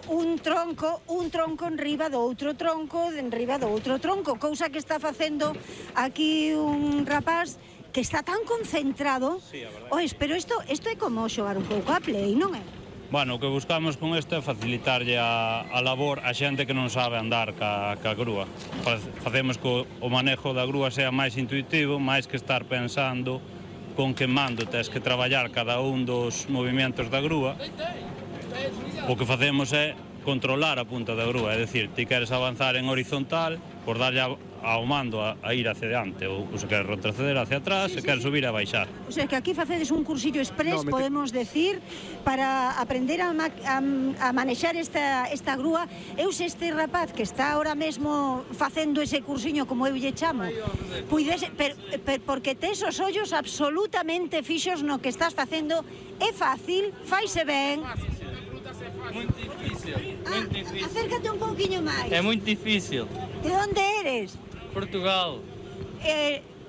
un tronco enriba do outro tronco, enriba do outro tronco, cousa que está facendo aquí un rapaz que está tan concentrado. Sí, a verdade. Ois, pero isto é como xogar un pouco a play, non é? Bueno, o que buscamos con isto é facilitarlle a labor a xente que non sabe andar ca grúa. Facemos que o manejo da grúa sea máis intuitivo, máis que estar pensando con que mando tes que traballar cada un dos movimentos da grúa. O que facemos é controlar a punta da grúa, é dicir, ti queres avanzar en horizontal, por darlle ao mando a ir hacia diante, ou se queres retroceder hacia atrás, se queres subir a baixar. O sea, que aquí facedes un cursillo express, podemos decir, para aprender a manexar esta grúa. Eu se este rapaz que está ahora mesmo facendo ese cursiño, como eu lle chamo, puidese, porque tes os ollos absolutamente fixos no que estás facendo, é fácil, faise ben. Muito difícil, muito difícil. Acércate un pouquiño máis. É muito difícil. De onde eres? Portugal.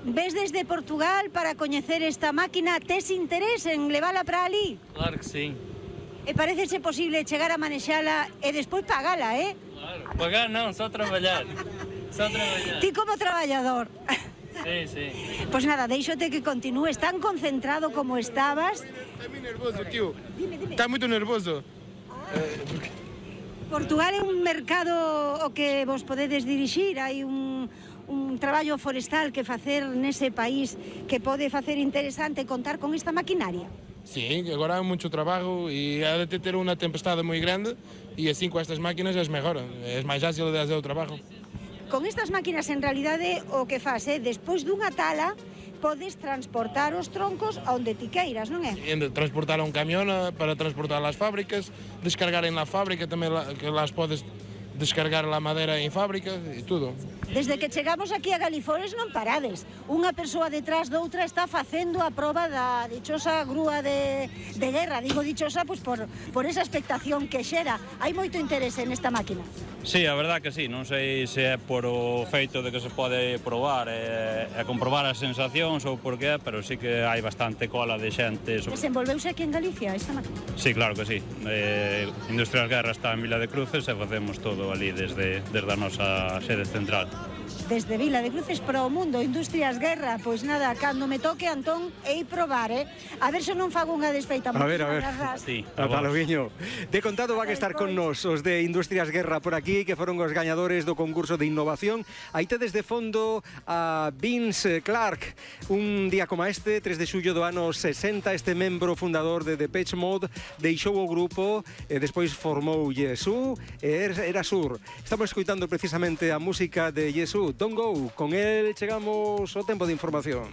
Ves desde Portugal para coñecer esta máquina, tes interés en levala para ali? Claro que sim. E parecese posible chegar a manexala e despois pagala, Claro, pagar non, só traballar. Só traballar. Ti como traballador. Sí, sí. Pois nada, deixote que continúes tan concentrado como estabas. Está moi nervoso, tío. Dime. Está moito nervoso. Portugal é un mercado o que vos podedes dirixir, hai un traballo forestal que facer nese país que pode facer interesante contar con esta maquinaria. Sí, agora hai moito traballo e há de ter unha tempestade moi grande e así con estas máquinas é mellor, é máis fácil de fazer o traballo. Con estas máquinas, en realidade, o que faz é, despois dunha tala, podes transportar os troncos a onde ti queiras, non é? Transportar a un camión para transportar ás fábricas, descargar en la fábrica tamén, que las podes descargar a madeira en fábrica e tudo. Desde que chegamos aquí a Galifores non parades. Unha persoa detrás doutra está facendo a proba da dichosa grúa de guerra. Digo dichosa pois por esa expectación que xera. Hai moito interese nesta máquina. Sí, a verdad que sí, non sei se é por o feito de que se pode probar e comprobar as sensacións ou por que, pero sí que hai bastante cola de xente. Desenvolveuse aquí en Galicia esta máquina? Sí, claro que sí. Industrias Guerra está en Vila de Cruces e facemos todo ali desde a nosa sede central. Desde Vila de Cruces para o mundo, Industrias Guerra, pois nada, cando me toque, Antón, ei probar, a ver se non fago unha desfeita. A ver. Sí, Ata loguiño. De contado van a estar con nos os de Industrias Guerra por aquí, que foron os gañadores do concurso de innovación. Aí tedes de fondo a Vince Clarke, un día como este, 3 de xullo do ano 60, este membro fundador de Depeche Mode deixou o grupo e despois formou Yesu e Erasure. Estamos escoitando precisamente a música de Yesu, Don't Go. Con él chegamos ao tempo de información.